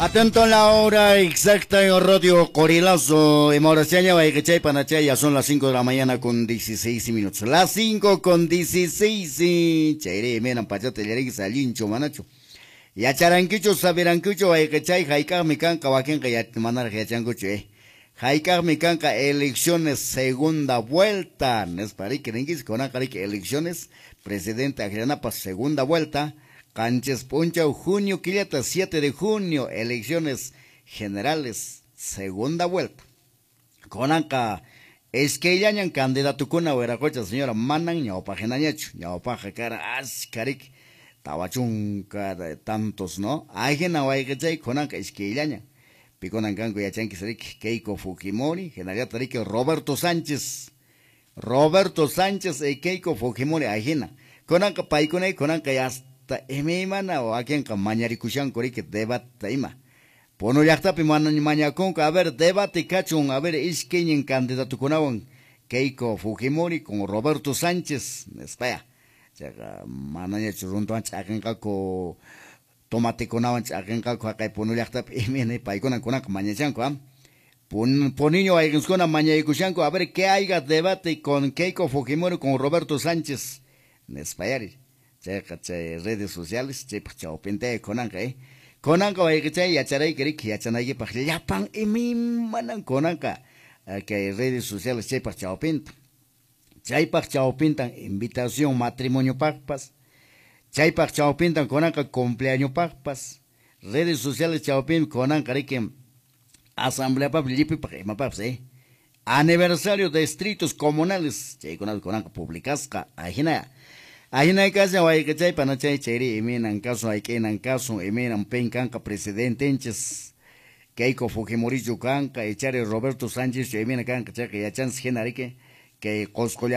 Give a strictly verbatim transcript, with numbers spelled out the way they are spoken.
Atento a la hora exacta en Radio Qorilazo. En Mauraciaña, Guayquechay, Panachay, ya son las cinco de la mañana con dieciséis minutos. Las cinco con dieciséis. Chayre, menan pachata, yarik, allincho, manacho. Yacharankichu, sabirankichu, wayqichay, hayk'aqmi kanqa, wakinqa manaraq yachankuchu, eh. Hayk'aqmi kanqa elecciones segunda vuelta. Nispa riki rinkichis, kunanqa riki elecciones presidente akllanapaq segunda vuelta. Qanchis p'unchaw junio killata, siete de junio, elecciones generales, segunda vuelta. Kunanqa iskayllañan candidatukuna wiraqocha señora, manan ñawpaqhinañachu, ñawpaqqa karan askha riki, tawa chunka tantos, ¿no? Ahina wayqichay kunanqa iskayllañan. Pikunan kanku yachankis riki, Keiko Fujimori, hinallataq riki Roberto Sánchez. Roberto Sánchez y Keiko Fujimori ahina. Kunanqa paykunay kunanqa hasta imaymana wakinqa mañarikushanku riki debate ima. Puno llaqtapi mañakunku, a ver, debate kachun, a ver, iskaynin candidatukunawan Keiko Fujimori con Roberto Sánchez, nispaya. Chayqa manañachu runtuwan ch'aqinqaku, tomatekunawan ch'aqinqaku haqay Puno llaqtapi imayna paykuna kunanqa mañachanku, ¿ah? Pun, puniño wayqinkuna mañaykushanku, a ver, que haya debate con Keiko Fujimori con Roberto Sánchez, nispayari. Chayqa chay redes sociales chaypaq chawpintay kunanqa, eh. Kunanqa wayqichay yacharayki riki yachanaykipaq llapan imaymanan kunanqa kay redes sociales chaypaq chawpinta. Chaypaq chawpintan invitación matrimoniopaqpas, chaypaq chawpintan kunanqa cumpleañopaqpas, redes sociales chawpin kunanqa riki asambleapaq llipipaq imapaqpas, eh. Aniversario de distritos comunales, chaykunata kunanqa publicasqa, ahina. Ahina kashan wayqichay panachay chayri imaynan kasun hayk'inan kasun imaynan pin kanqa presidentenchis Keiko Fujimorichu kanqa ichari Roberto Sánchez imayna kanqa chayqa yachanchis hina riki kay Qosqo llaqta.